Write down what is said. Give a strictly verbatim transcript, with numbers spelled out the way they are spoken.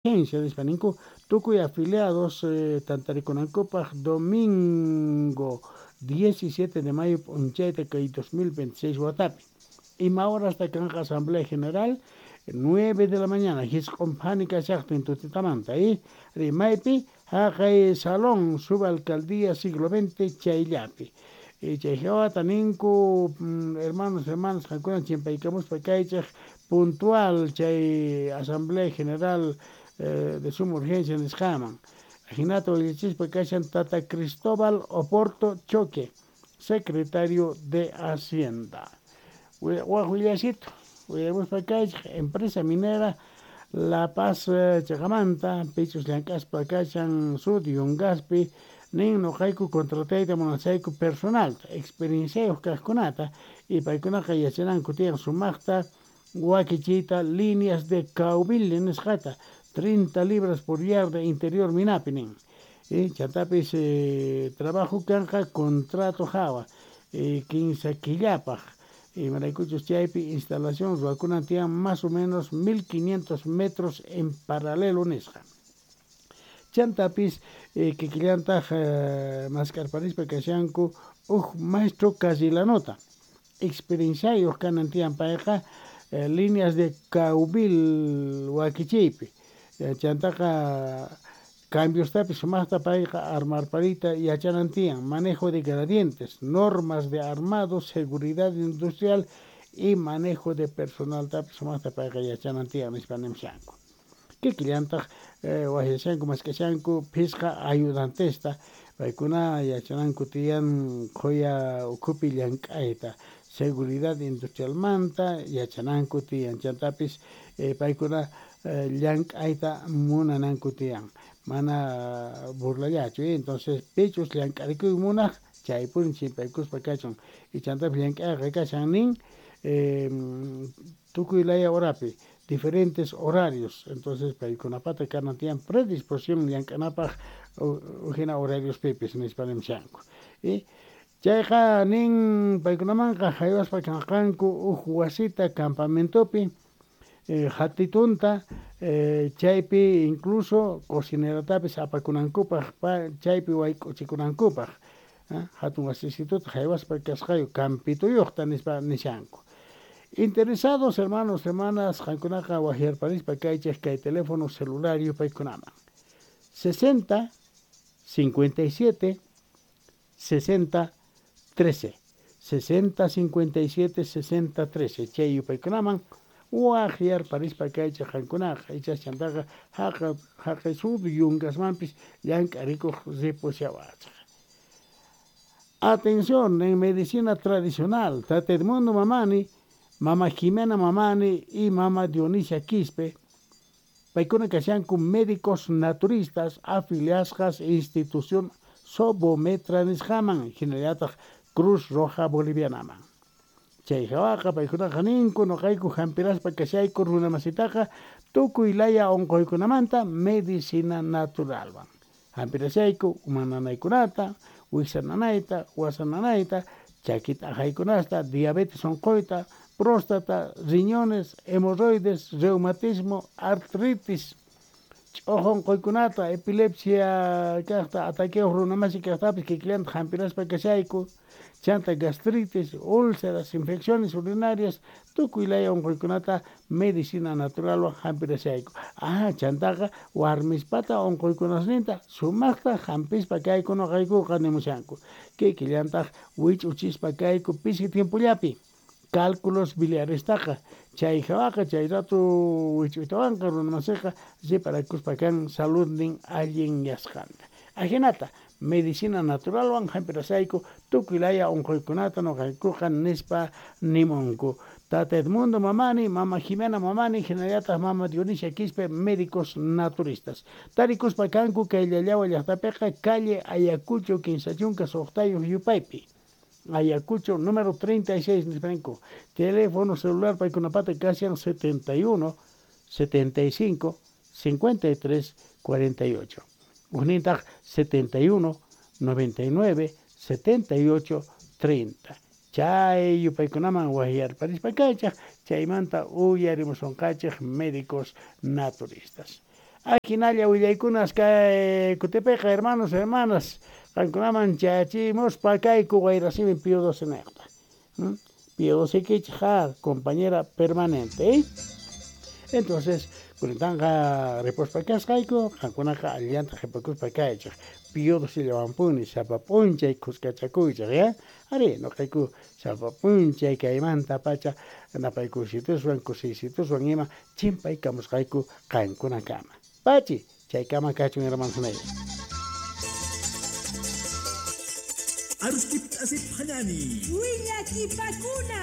Nispa ninku tukuy afiliados eh, tantarikunankupaj domingo diecisiete de mayo p'unchayta kay dos mil veintiséis watapi. Ima horasta kanqa Asamblea General? nueve de la mañana, jisq'un phani kashaqtin tutitamanta, eh? Rimaypi haqay Salón Subalcaldía Siglo veinte chayllapi. Chay hawata ninku, hermanos, hermanas, qankuna chimpaykamuspa kaychej puntual chay Asamblea General eh, de suma urgencia nisqaman. Ajinata willachispa kashan Tata Cristóbal Oporto Choque, secretario de Hacienda. Waj willasito, willamuspa kaychej empresa minera La Paz chaqamanta, pichus llank'aspa kashan Sud Yungaspi, nin noqayku contratayta munasayku personalta, experienciayuq kaqkunata, y paykunaqa yachananku tiyan sumaqta wakichiyta líneas de caubile nisqata, treinta libras por yarda interior minapi nin. Y chantapis eh, trabajo kanqa contrato hawa, eh, quince killapaj. Imaraykuchus chaypi instalación ruwakunan tiyan más o menos mil quinientos metros en paralelo nisqa. Chantapis eh, kikillantaj eh, maskarparispa kashanku uj maestro Casilanota, experienciayuq kanan tiyan payqa eh, líneas de caubil wakichiypi. Chantaqa cambiostapis sumaqta payqa armarparita yachanan tiyan, manejo de gradientes, normas de armado, seguridad industrial y manejo de personal tapis sumaqta payqa yachanan tiyan nispa nimshanku. Kikillantaq eh, wajyashanku mask'ashanku phisqa ayudantesta, paykuna yachananku tiyan qhuya ukhupi llank'ayta, seguridad industrialmanta yachananku tiyan, chantapis eh, paykuna eh, llank'ayta munananku tiyan, mana burlallachu, eh? Entonces pichus llank'arikuy munaj chaypuni chimpaykuspa kachun, y chantapis llank'ayqa kashan nin eh, tukuy laya horapi, diferentes horarios, entonces paykunapata kanan tiyan predisposición llank'anapaj ujina horarios pipis nispa nimshanku. Y chayqa nin paykunamanqa haywaspa kanqanku uj wasita campamentopi, eh, hatitunta, eh, chaypi incluso cocineratapis apakunankupaj, chaypi wayk'uchikunankupaj, eh, hatun wasisituta haywaspa kasqayu campituyuqta nispa nishanku. Interesados hermanos, hermanas, qankunaqa wajyarparispa kaychej kay teléfono celular yupaykunaman. sesenta, cincuenta y siete, sesenta, trece. sesenta, cincuenta y siete, sesenta, trece. Chay yupaykunaman wajyarparispa kaychej qankunaqa, ichas chantaqa haqa haqay Sud Yungasmanpis llank'arikuq ripushawachej. Atención, en medicina tradicional, Tata Edmundo Mamani, Mama Jimena Mamani y Mama Dionisia Quispe, paykuna kashanku médicos naturistas afiliasqas institución Sobometra nisqaman, hinallataq Cruz Roja Bolivianaman. Chay hawaqa paykunaqa ninku noqayku hampiraspa kashayku runamasitaqa tukuy laya unquykunamanta medicina naturalwan. Hampirashayku uma nanaykunata, wiksa nanayta, wasa nanayta, chakita ajaykunasta, diabetes unquyta, próstata, riñones, hemorroides, reumatismo, artritis, ch'uju unquykunata, epilepsia kaqta, ataqueo runamasi kaqtapis kikillanta hampiraspa kashayku, chanta gastritis, úlceras, infecciones urinarias, tukuy laya unquykunata medicina naturalwan hampirashayku. Ah, chantaqa warmispata unquykunasninta sumaqta hampispa kayku noqaykuqa nimushanku. Kikillantaq wich'uchispa kayku pisi tiempollapi cálculos biliarestaqa, chay hawaqa chay rato wich'uytawanqa runamasiqa riparakuspa kan saludnin allin yasqanta. Ajinata medicina naturalwan hampirashayku tukuy laya unquykunata noqaykuqa nispa nimunku. Tata Edmundo Mamani, Mama Jimena Mamani, hinallataq Mama Dionisia Quispe, médicos naturistas. Tarikuspa kanku kay Llallawa llaqtapiqa calle Ayacucho kinsa chunka suqtayuq yupaypi. Ayacucho número treinta y seis nispanku. Teléfono celular paykunapata kashan setenta y uno, setenta y cinco, cincuenta y tres, cuarenta y ocho. Ujnintaq setenta y uno, noventa y nueve, setenta y ocho, treinta. Chay yupaykunaman wajyarparispa kaychaj, chaymanta uyarimusunqachej médicos naturistas. Ajinalla willaykunas kay kutipiqa, hermanos, hermanas, qankunaman chayachimuspa kayku Wayrasimi Pío doce neqta. Pío doce kichqa compañera permanente, ¿eh? Entonces, kunantanqa ripuspa kasqayku, qankunaqa allillanta qhipakuspa kaychej. Pío doce llawanpuni sapa p'unchay khuskachakuychej, ya? Ari, noqayku sapa p'unchay kaymanta pacha napaykusituswan kusiysituswan ima chimpaykamusqayku qankunakama. Pachi, chaykama kachun hermanos. Aruskip asip hanani. Willakipakuna.